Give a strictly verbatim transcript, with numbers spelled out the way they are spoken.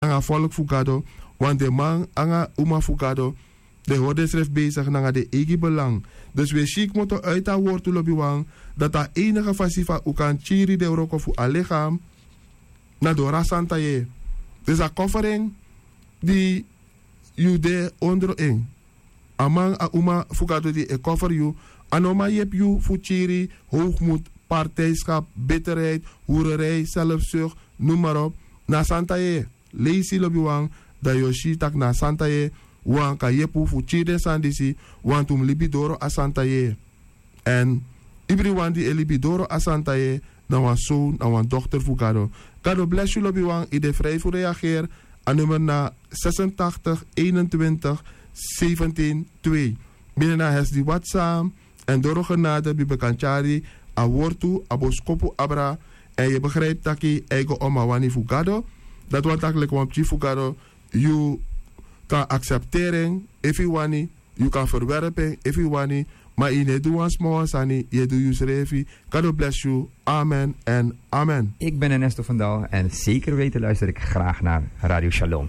nanga a folku fu gado. Wan den man nanga a uma fu gado, den hori densrefi besigi nanga den eigi belang. Dus wi e si kmoto uiti a wortu lobiwan, dati a enige fasi fa un kan kiri den wroko fu a ligam, na doro a santa yeye. Dus a koferi en di yu de ondro en. A man, a uma fu gado di e koferi yu, a no man yepi yu fu kiri howgmut, partijskap, bitterheid, hurerij, selfsuk, noem maar op. Na a santa yeye. Leisi lobiwan, dan yu o si tak' na a santa yeye wan kan yepi un fu kiri den sani disi. Wantu un mus libi doro a santa yeye. Èn ibriwan di e libi doro a santa yeye na wan son, na wan dokter fu gado. Gado blesi yu lobiwan, yu de fri fu reageri. A nummer na sesentachtig eenentwintig zeventien twee. Bini na a hesi di whatsapp. Èn doro genade bibi kan tyari a wortu, a boskopu abra. Èn yu e begripi tak' a e go om a wani fu gado. Dati wani tak' leki wan pikin fu gado, yu kan aksepteri en efu yu wani, yu kan ferwerpi en efu yu wani. Ma yu no e du wan sma wan sani, yu e du yusrefi. Gado blesi yu. Amen èn amen. Ik ben Ernesto van Dal en zeker weten luister ik graag naar Radio Shalom.